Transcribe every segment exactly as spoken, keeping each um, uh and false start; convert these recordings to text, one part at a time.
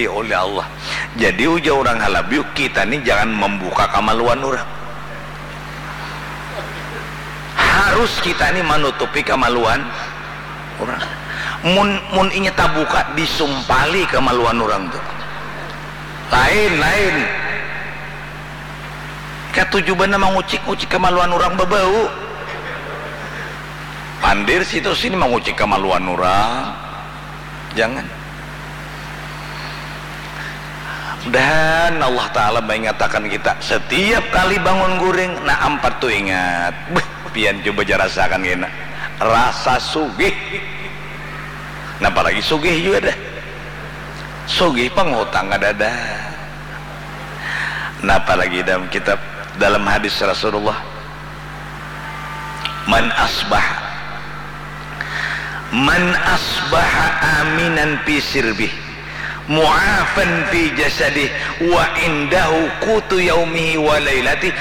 oleh Allah. Jadi ujar orang Halabiu, kita ni jangan membuka kamaluan orang. Harus kita ni manutupi kamaluan orang. Mun, mun inya tabuka, disumpali kamaluan orang tu. Lain, lain. Katuju banar mangucik-ngucik kamaluan orang babau. Pandir situ sini mangucik kamaluan orang. Jangan. Mudahan Allah Ta'ala maingatakan kita setiap kali bangun guring, nah, ampat tu ingat. Beuh, pian cuba ja rasakan kena. Rasa sugih. Napa lagi sugih jua dah. Sugih pang hutang kadada. Napa lagi dalam kitab, dalam hadis Rasulullah, "Man asbaha, man asbaha aminan fi sirbih, mu'afan fi jasadih, wa indahu qutu yaumihi wa lailatih,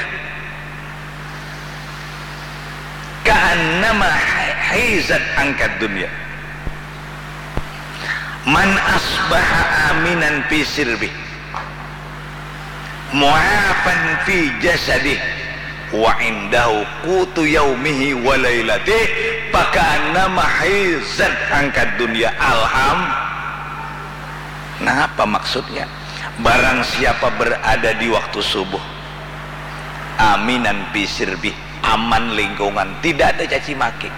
ka'annama hizat angkad dunya." Man asbaha aminan fi sirbih, mu'afan fi jasadih, wa indahu qutu yaumihi wa lailatih, faka'annama hizat angkad dunya. Alham. Napa maksudnya? Barang siapa berada di waktu subuh, aminan fi sirbih, aman lingkungan, tidak ada caci maki.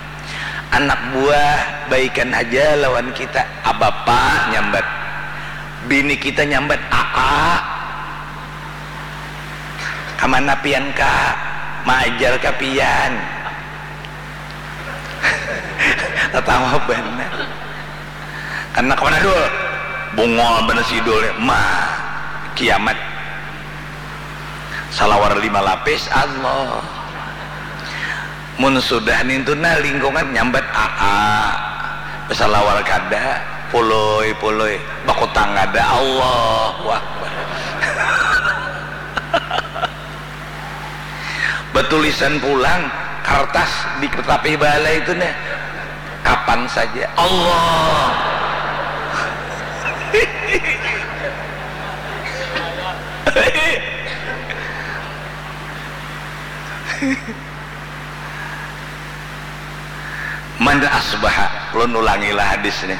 Anak buah baikan haja lawan kita, abapa nyambat, bini kita nyambat, aa. Kamana pian, Ka? Maajar ka pian. Tatawa banar. Karena kamana dul? Bungol banar si dul ni. Ma, kiamat. Salawar lima lapis, Allah. Mun sudah nintu nah lingkungan nyambat aa, basalawar kada, pului, pului, bakutang kada, Allahu Akbar. Batulisan pulang kartas di tapih balai itu nah, kapan saja, Allah. Man asbaha, ulun ulangilah hadis ni.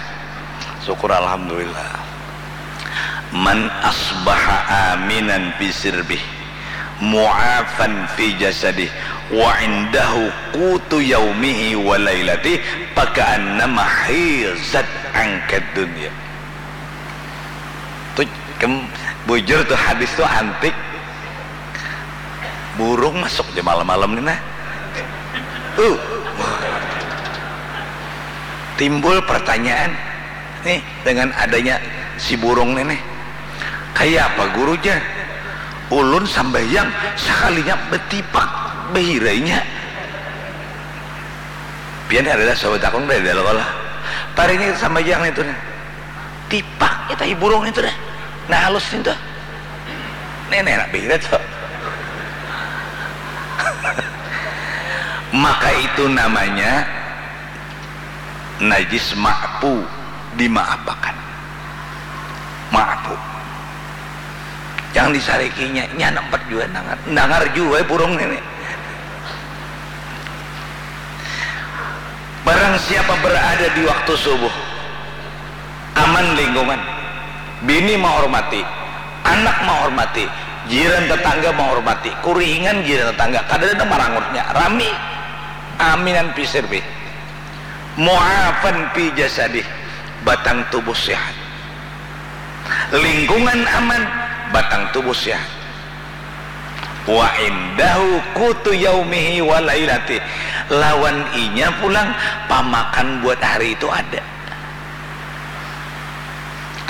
Syukur alhamdulillah. Man asbaha aminan fi sirbih, mu'afan fi jasadih, wa indahu qutu yaumihi wa lailatih, faka'annama hizat angkad dunya. Tu, kem, bujur tu hadis tu antik. Burung masuk ja malam-malam ni nah. Uh. Timbul pertanyaan nih dengan adanya si burung ni nih. Kaya apa guru ja? Ulun sambahyang sakalinya betipak bahirainya. Pian ada dah sahabat akun dah dalam Allah. Parinya sambahyang itu nih. Tipak kita burung itu dah. Nah halus itu. Nenek nak beda tuh. Maka itu namanya najis ma'fu, dimaapakan. Ma'fu. Yang disarikinya, nya nampat jua nangar. Nangar jua burung ini. Barang siapa berada di waktu subuh, aman lingkungan, bini menghormati, anak menghormati, jiran tetangga menghormati, kurihingan jiran tetangga, kada ada marangutnya, rami, aminan pisir bih. Mu'afan fi jasadih, batang tubuh sehat. Lingkungan aman, batang tubuh sehat. Wa indahu qutu yaumihi wa lailatih. Lawan inya pulang pamakan buat hari itu ada.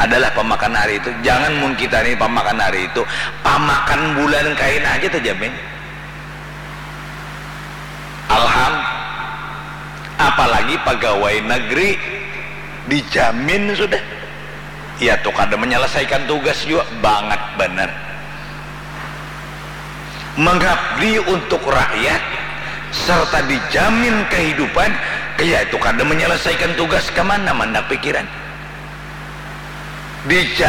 Adalah pamakan hari itu. Jangan mun kita ni pamakan hari itu, pamakan bulan kaina aja terjamin. Alham, apalagi pegawai negeri dijamin sudah. Ya tu kada menyelesaikan tugas jua, bangat banar. Mengabdi untuk rakyat serta dijamin kehidupan, ya itu kada menyelesaikan tugas, kemana mandak pikiran? Dijamin